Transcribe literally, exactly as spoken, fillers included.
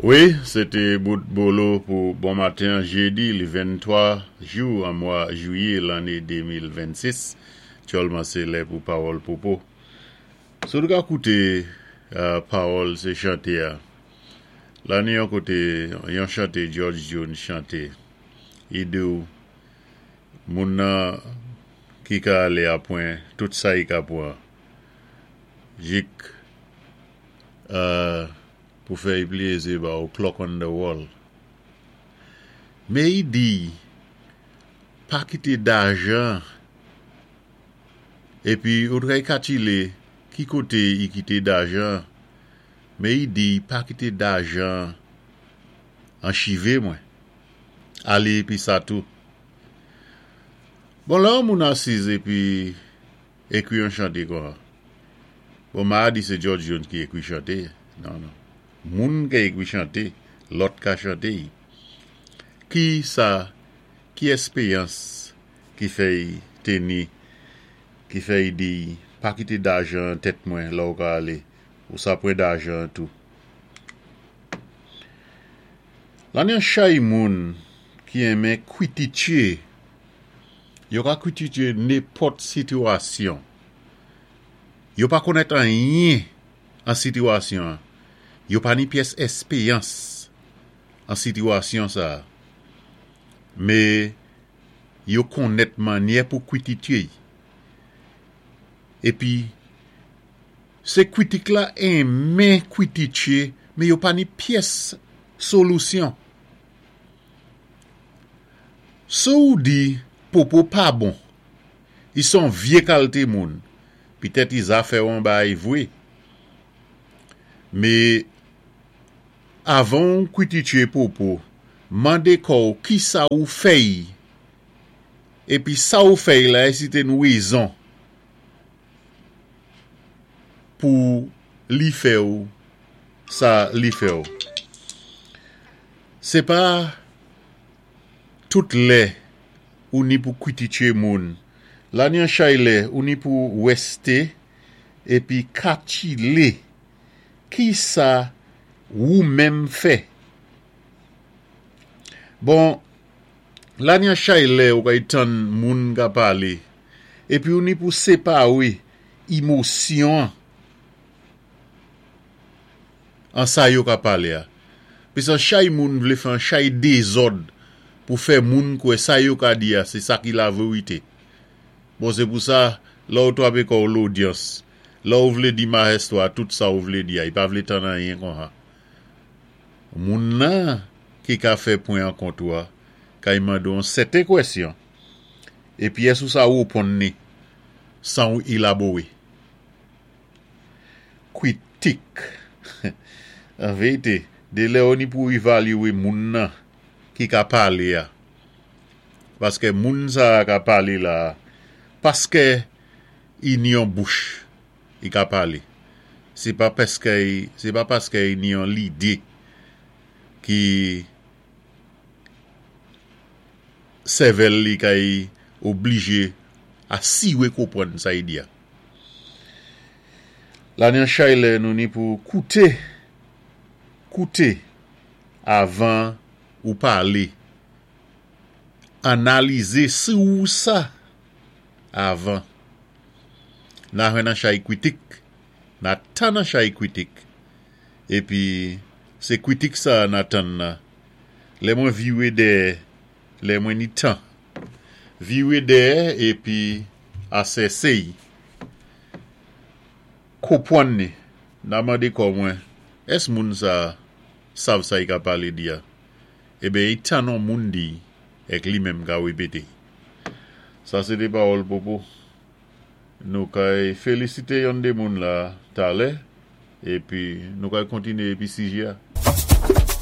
Wi, sé té bout bolo pou bon maten jédi, li venntwa jou an mwa jwiyé lanné de mil vennsis. Aktyèlman sé lè pou Pawòl Popo. Si ou ka kouté pawòl sé chanté a. La ni yon koté, yon chanté George Jones chanté. I di ou, moun nan ki ka alé a pwan tout sa i ka pwan. Jik pou fè i plézi ba ou clock on the wall. Mé i di, pa kité dajan épi ou dwé kakilé ki koté i kité dajan. Mé i di, pa kité dajan an chivé mwen. Alé épi sa tou. Bon, lè yon moun asiz épi ékwi yon chanté kon. Bon, ma di sé George Jones ki ékwi chanté. Non, non. Moun ki ékwi chanté, lòt ka chanté. Ki sa, ki èspéyans ki fè i téni, ki fè i di, pa kité dajan tèt mwen la ou ka alé, ou sa pwan dajan tou. La ni yon chay moun ki enmen kwitiké. Yo ka kwitiké nenpòt sitiyasyon. Yo pa konnèt anyen an sitiyasyon. Yo pa ni pyès èspéyans an sitiyasyon sa. Mé yo konnèt mannyè pou kwitiké. Épi sé kwitik la enmen kwitiké, mé yo pa ni pyès solisyon. Si ou di Popo pa bon, i son vyé kalité moun, pitèt i zafè an bay vwé. Mé avan kwitiké Popo, mandé kò ou ki sa ou fè'y, épi sa ou fè'y la, si té yon wézon pou li fè ou sa li fè ou. Sé pa tout lè ou ni pou kwitiké moun. La ni an chay lè ou ni pou wèsté épi kakilé ki sa ou menm fè. Bon, la ni an chay lè ou kay tann moun ka palé, épi ou ni pou sépawé émosyon an sa yo ka palé a. Pis an chay moun vlé fè an chay dézòd pou fè moun kwè sa yo ka di a, sé sa ki la vérité. Bon, sé pou sa, la ou twapé kò l'audience, la ou vlé di maestro a tout sa ou vlé di a, i pa vlé tann anyen kon sa. Moun nan ki ka fè pwen an kont ou a, ka i mande yon sèten kwèsyon, épi ès ou sa wéponn ni, san ou élabowé. Kwitik. An vérité, dé lè ou ni pou évalyéwé moun nan ki ka palé a. Paské moun sa ka palé la, paské i ni yon bouch i ka palé. Sé pa paské, sé pa paské i ni yon lidé ki sèvèl li kay oblijé asiwé konpwann sa i di a. La ni an chay lè nou ni pou kouté, kouté avan ou palé. Analizé si ou sa avan. Na jwenn an chay kwitik, na tann an chay kwitik. Épi sé kwitik sa na tann nan. Lè mwen viwé dèyè, lè mwen ni tan. Viwé dèyè épi asèsé'y. Konpwann ni, na mandé kò mwen, ès moun sa sav sa i ka palé di a? Eben, i tann on moun di, èk li menm ka wépété. Sa sé té Pawòl Popo. Nou kay félisité yon dé moun la talè, épi nou kay kontiné épi sijé a.